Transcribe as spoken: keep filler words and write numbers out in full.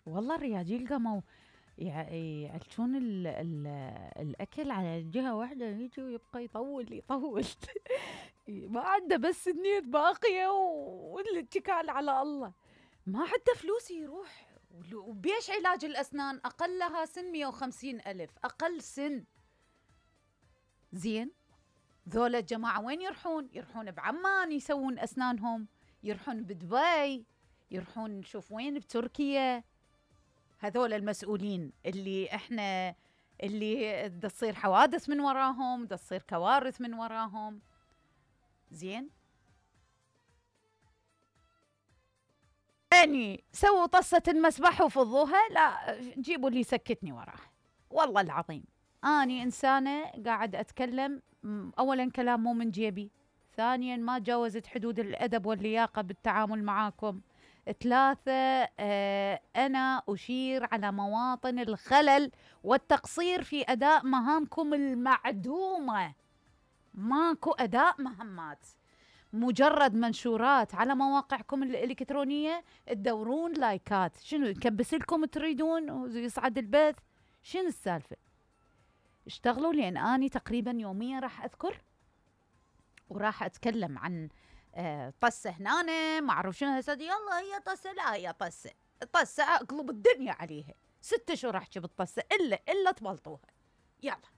والله الرياجيل قاموا يع- يعلشون ال ال الأكل على جهة واحدة، يجي ويبقى يطول يطول ما عنده بس النية باقية والاتكال على الله، ما عنده فلوس يروح. وبيش علاج الأسنان أقلها سن مية وخمسين ألف، أقل سن. زين، ذولا الجماعة وين يروحون؟ يروحون بعمان يسوون أسنانهم، يروحون بدبي، يروحون نشوف وين بتركيا. هذول المسؤولين اللي احنا اللي دا تصير حوادث من وراهم، دا تصير كوارث من وراهم. زين، يعني سووا طصة المسبح وفضوها، لا جيبوا اللي يسكتني وراه. والله العظيم أني إنسانة قاعد أتكلم، أولا كلام مو من جيبي، ثانيا ما جاوزت حدود الأدب واللياقة بالتعامل معاكم، ثلاثة آه أنا أشير على مواطن الخلل والتقصير في أداء مهامكم المعدومة. ماكو أداء مهمات، مجرد منشورات على مواقعكم الإلكترونية، تدورون لايكات. شنو نكبس لكم تريدون ويصعد البث؟ شنو السالفة؟ اشتغلوا، لأن أني تقريبا يوميا راح أذكر وراح أتكلم عن آه طسة هنا ما أعرف شنو. هسه يلا هي طسة، لا هي طسة طسة أقلب الدنيا عليها، ست شهور أحكي بالطسة إلا إلا تبلطوها. يلا.